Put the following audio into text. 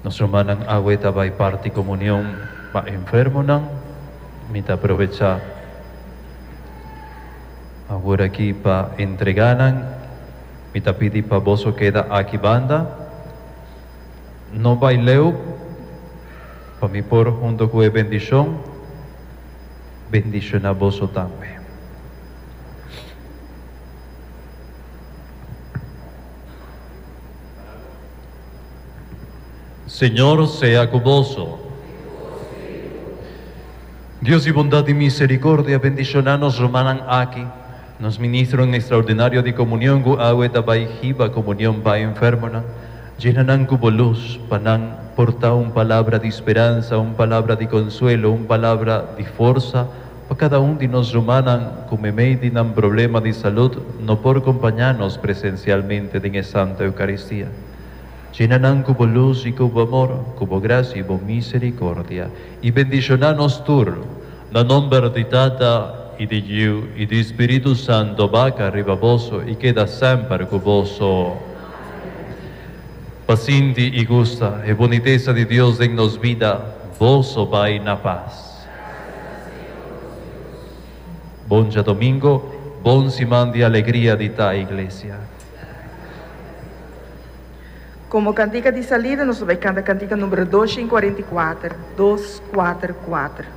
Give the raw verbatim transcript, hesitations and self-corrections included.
Nos rumannan awe ta bai parti komunion pa enfermonan. Mi ta aprovechá awor aki pa entregá nan. Mi ta pidi pa boso keda aki banda. No bai leu, pa mi por huntu ku e bendishon, bendishoná boso tambe. Señor sea ku boso. Dios di bondat i miserikòrdia, bendishoná nos rumannan aki, nos ministronan ekstraordinario di komunion ku awe ta bai hiba komunion pa enfermonan. Yena nan ku bo lus, pa nan por ta un palabra di speransa, un palabra di konsuelo, un palabra di forsa pa kada un di nos rumannan ku meimei di nan problema di salud no por kompañá nos presensialmente den e Santa Eukaristia. Yena nan ku bo lus i ku bo amor, ku bo grasia i bo miserikòrdia, i bendishoná nos tur, na nòmber di Tata i di Yu i di Spiritu Santu, baha riba boso i keda semper ku boso. Pa sinti i gusta e bunitesa di Dios den nos bida, boso bai na pas. Bon djadumingu, bon siman di alegria di ta iglesia. Komo kantika di salida, nos ta bai kanta kantika number dos kuarenta i kuater, dos kuater kuater.